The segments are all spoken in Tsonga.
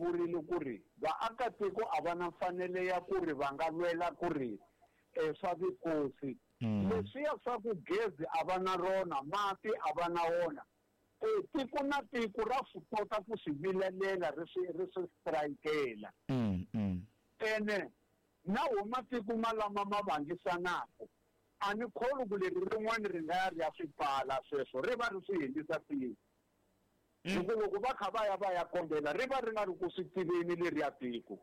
vurile ku ri vaakatiko a va na mfanelo ya ku ri va nga lwela ku ri swa vukosi. Leswiya swa ku gezi a va na rona, mati a va na wona, tiko na tiko ra swi kota ku swi vilelela ri swi ri swi strikela. Ene na wo matiko malama ma vangisanaka, a ni kholwi ku leri rin'wana ri nga ya ri ya swi pfala sweswo, ri va ri swi endlisa ku yini. Hi ku loko va kha va ya va ya kombela ri va ri nga ri ku swi tiveni leriya tiko.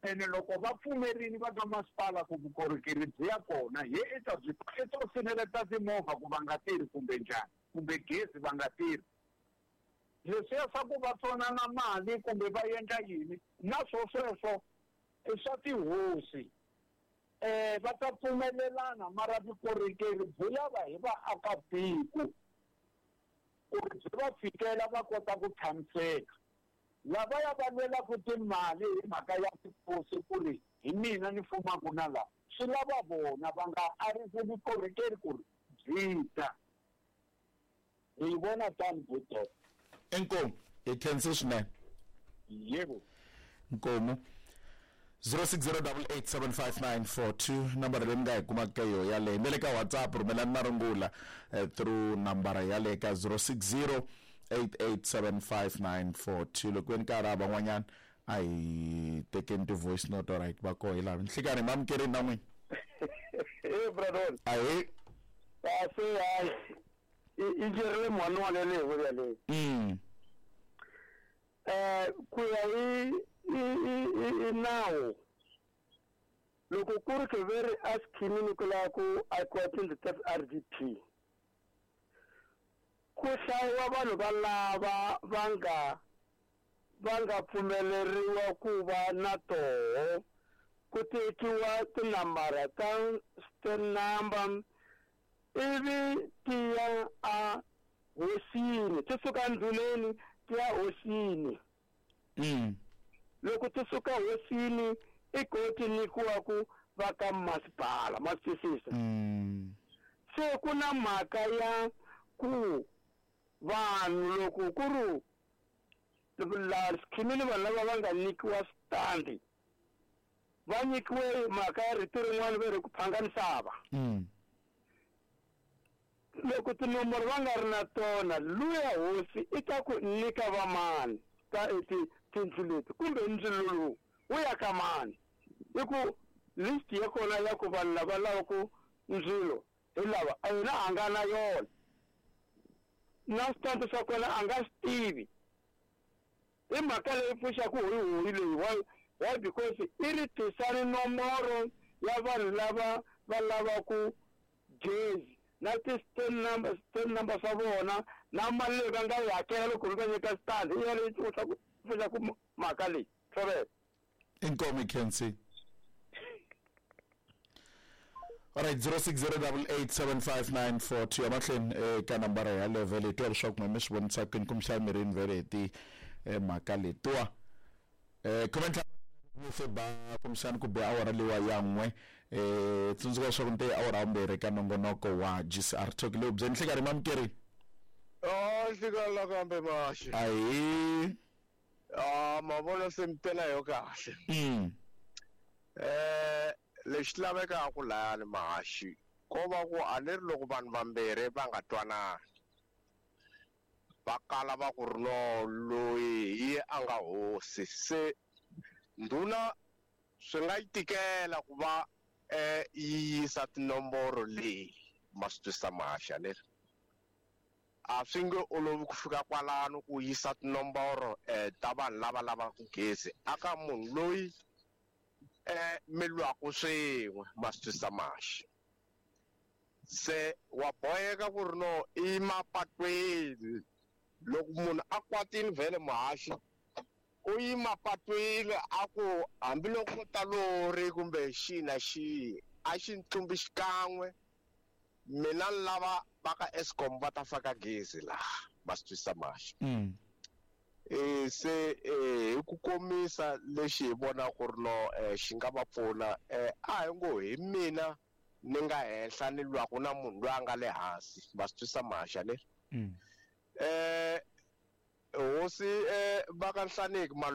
Ene loko va pfumerile va ka masipala ku vukorhokeri byi ya kona, he i ta byi i to siveleta timovha ku va nga tirhi kumbe njhani, kumbe gezi va nga tirhi. Leswiya swa ku va tsonana mali kumbe va endla yini, na swo sweswo i swa tihosi. Va ta pfumelelana mara vukorhokeri byi lava hi vaakatiko ku ri byi va fikela va kota ku tshamiseka. Lavaya va lwelaka timali hi mhaka ya tikosi ku ri hi mina ni fumaka na laha, swi lava vona va nga arisi vukorhokeri ku ri byi ta. Ni yi vona tani buto. Inkomu, hi khense swinene. Yebo. Nkomu. 0608875942 nambara leyi mi nga hi kumaka ka yoho yaleyo. Na le ka WhatsApp rhumelani marungula through nambara yaleyo ka 0608875942. Loko ve ni karhi van'wanyana a hi tekeni ti-voice note, alright, va koho hi laha. Nhlikani hi mamukerini na n'wina. Eh, brother. Ahee. Kahle, hayi. I jerile mhani wa le leyi yaleyo. Ku ya hi i nawu, loko ku ri ke ve ri a schemini ku lava ku akiwa tindlu ta RDP, ku hlayiwa vanhu va lava va nga pfumeleriwa ku va na toho, ku tekiwa tinambara ta stand number ivi ti ya a hosini, ti suka ndhuneni ti ya hosini. Loko ti suka hosini i ko ti nyikiwa ku va ka masipala, ma swi twisisa? Se ku na mhaka ya ku vanhu loko ku ri laha schemini vanhu lava va nga nyikiwa switandi va nyikiwe mhaka ya rito rin'wana va ri ku phanga misava. Loko tinomboro va nga ri na tona, luya hosi i ta ku nyika va mani ta tindlu leti kumbe ndzilo lowu wu ya ka mani. I ku list ya kona ya ku vanhu lava lavaku ndzilo hi lava, a yena a nga na yona, na switandi swa kona a nga swi tivi. I mhaka leyi pfuxaka hoyihoyi leyi. Why? Why? Because i ri tisani nomboro ya vanhu lava va lavaku gezi na ti-stand number, stand number swa vona na mali leyi va nga yi hakela loko va nyika stand, i ya leyi pfuxaka mhaka leyi. Thobela. Inkomu, Kensi. Alright, 0608875942 emahlweni ka nambara yaleyo vhele hi twa leswaku n'we mi swi vonisa kwini kumbexana mi rini vhele hi ti mhaka letiwa. Khumentlhanu se ba kumbexana ku be awara leyiwa ya n'we. Tsundzuka leswaku ni te awara vumbirhi ka nongonoko wa GCR Talk leyi byeni. Nhlikani mamukeri. Nhlikani la kambe maxi. Ahee. Ma vona se mi tela yo kahle. Lexi lavekaka lahayani mahaxi ko va ku a ni ri loko vanhu vambirhi va nga twanani, va kala va ku ri no loyi hi ye a nga hosi, se ndhuna swi nga yi tikela ku va yi yisa tinomboro leyi ma swi twisisa mahaxi a ni ri. A swi nge olovi ku fika kwalano ku yisa tinomboro ta vanhu lava lavaka gezi aka munhu loyi mi lwaku swin'we, ma swi twisisa mahaxi. Se wa boheka ku ri no i mapatwini, loko munhu a kwatile vhele muhaxi u yi mapatwini a ku hambiloko ko ta lori kumbe xihi na xihi a xi ni tlumbi xikan'we, mina ni lava va ka Eskom va ta faka gezi laha, ma swi twisisa mahaxi. Se hi ku komisa lexi hi vonaka ku ri no xi nga va pfuna, a hi ngo hi mina ni nga henhla ni lwaku na munhu loyi a nga le hansi, ma swi twisisa mahaxi a ni? Hosi va ka Nhlaneki.